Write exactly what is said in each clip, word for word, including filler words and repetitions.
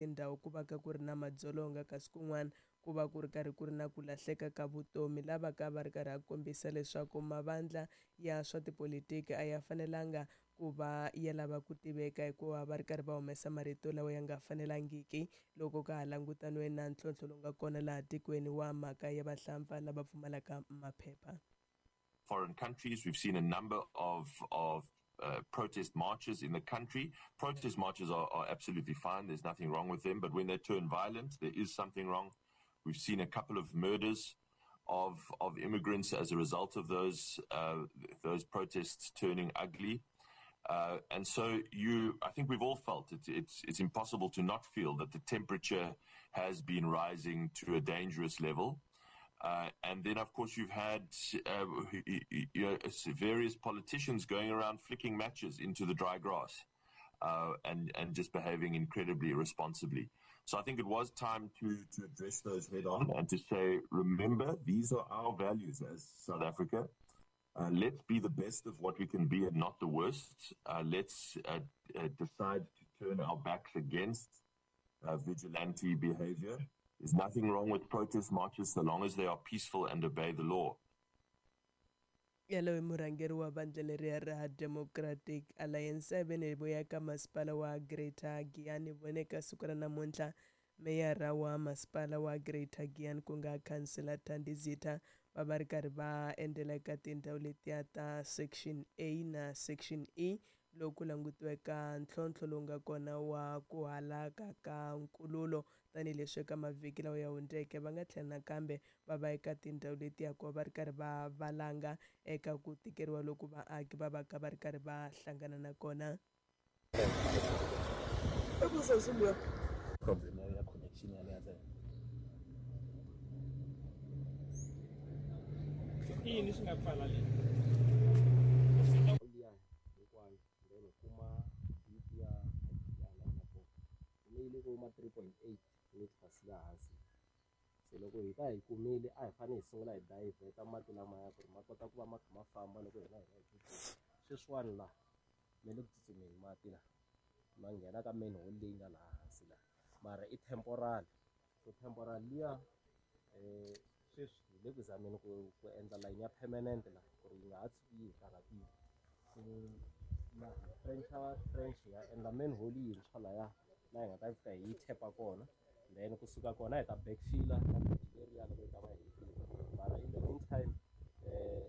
Tindhawu ku va ka ku ri na madzolonga, kasi kun'wana ku va ku ri karhi ku ri na ku lahleka ka vutomi. Lava ka va ri karhi a kombisa leswaku mavandla ya swa tipolitiki a ya fanelanga ku va ya lava ku tiveka hikuva va ri karhi va humesa marito lawa ya nga fanelangiki loko ka ha langutaniwe na ntlhontlho lowu nga kona laha tikweni wa mhaka ya vahlampfa lava pfumalaka maphepha. Foreign countries, we've seen a number of, of uh, protest marches in the country. Protest marches are, are absolutely fine. There's nothing wrong with them. But when they turn violent, there is something wrong. We've seen a couple of murders of, of immigrants as a result of those, uh, those protests turning ugly. Uh, and so you, I think we've all felt it, it's, it's impossible to not feel that the temperature has been rising to a dangerous level. Uh, and then, of course, you've had uh, you know, various politicians going around flicking matches into the dry grass uh, and, and just behaving incredibly irresponsibly. So I think it was time to, to address those head on and to say, remember, these are our values as South Africa. Uh, let's be the best of what we can be and not the worst. Uh, let's uh, uh, decide to turn our backs against uh, vigilante behavior. There's nothing wrong with protest marches so long as they are peaceful and obey the law. Yaloye murhangeri wa vandla leriya ra Democratic Alliance a ve vuya ka masipala wa Greater Giyani vone ka siku ra namuntlha meyara wa masipala wa Greater Giyani ku nga khansela Thandi Zitha va va ri karhi va endzela eka tindhawu letiya ta Section A na Section E loko ku langutiweka ntlhontlho lowu nga kona wa ku halaka ka nkululo tanihileswi eka mavhiki lawa ya hundzeke va nga tlhela nakambe va va eka tindhawu letiya ku va va ri karhi va valanga eka ku tikeriwa loku vaaki va va ka va ri karhi va hlangana na kona. Problem ya connection ya leya ntsena. I yini swi nga pfala leyi? Liya hinkwayo then u kuma deep ya ya la nga kona kume yi le ko ma three point eight meters la hansi. Se loko hi ta hi kumile a hi fanele hi sungula hi divert mati lamaya ku ri ma kota ku va ma kha ma famba loko hina hi ya hi tsutsuma. Sweswiwani la me le ku tsutsumeni mati la ma nghena ka manhole leyi nga laha hansi la, mara i temporal. So temporal liya eh sweswi hi le ku zameni ku ku endla line ya permanent la ku ri yi nga ha tshuki yi hi karhatile. So la hi trencha trench hi ya endla manhole yintshwa laya laha hi nga ta fika hi yi tap-a kona, then kusuka kona hi ta backfill-a na bridge leriya loko yi ta va hetile. Mara in the meantime eh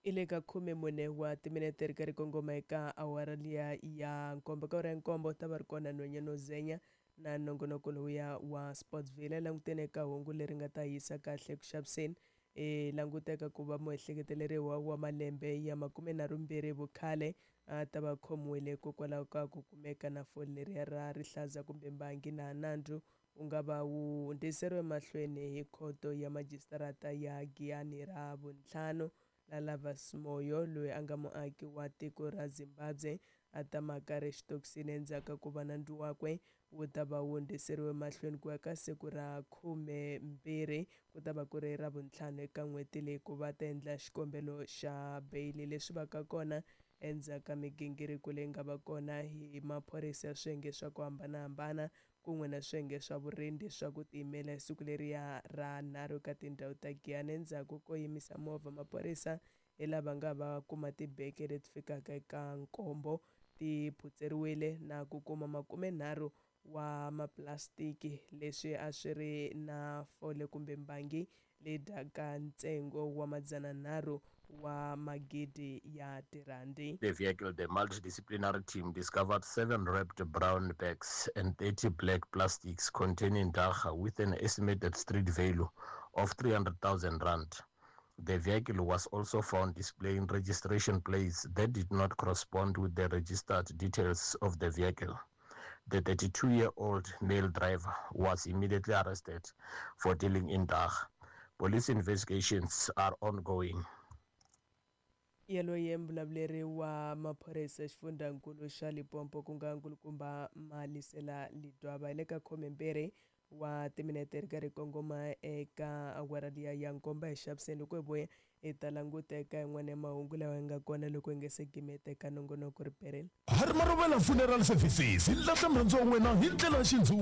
I le ka khume mune wa timinete ri karhi kongoma eka awara liya ya nkombo. Ka awara ya nkombo ta va ri kona nhwanyana Zenya na nongonoko lowuya wa Sportsville. Languteni eka hungu leri nga ta yisa kahle ku xaviseni. E languteka ku va muehleketeleriwa wa malembe ya makumenharhu mbirhi vukhale a ta va khomiwile hikokwalaho ka ku kumeka na fole leriya ra rihlaza kumbe mbangi na nandzu wu nga va wu hundziseriwe mahlweni hi khoto ya majisitarata ya Giyani ra vuntlhanu. Lalavas Moyo loyi a nga muaki wa tiko ra Zimbabwe a tamaka ri xitokisini endzhaku ka ku va nandzu wakwe wu ta va wu hundziseriwe mahlweni ku ya ka siku ra khumembirhi ku ta va ku ri ra vuntlhanu eka n'hweti leyi ku va ta endla xikombelo xa beyili. Leswi va ka kona endzhaku ka migingiriko leyi nga va kona hi maphorisa ya swiyenge swa ku hambanahambana kun'we na swiyenge swa vurindi swa ku tiyimela hi siku leriya ra nharhu eka tindhawu ta Giyani. Endzhaku ko yimisa movha maphorisa hi lava nga va kuma tibeke leti fikaka eka nkombo ti phutseriwile na ku kuma makumenharhu wa maplastiki leswi a swi ri na fole kumbe mbangi leyi dyaka ntsengo wa madzananharhu wa magidi ya tirhandi. The vehicle, the multidisciplinary team discovered seven wrapped brown bags and thirty black plastics containing dagga with an estimated street value of three hundred thousand rand. The vehicle was also found displaying registration plates that did not correspond with the registered details of the vehicle. The thirty-two-year-old male driver was immediately arrested for dealing in dagga. Police investigations are ongoing. Yaloye mbulavuleri wa maphorisa xifundzankulu xa Limpopo ku nga nkulukumba Malisela Lidwaba hi le ka khumembirhi wa timinete ri karhi kongoma eka awara liya ya nkombo hi xaviseni. Loko hi vuya hi ta languta eka yin'wana ya mahungu lawa ya nga kona loko hi nga se gimeta eka nongonoko ri perile. Hari Maruvela Funeral Services hi lahla murhandziwa wa wena hi ndlela ya xindzuti.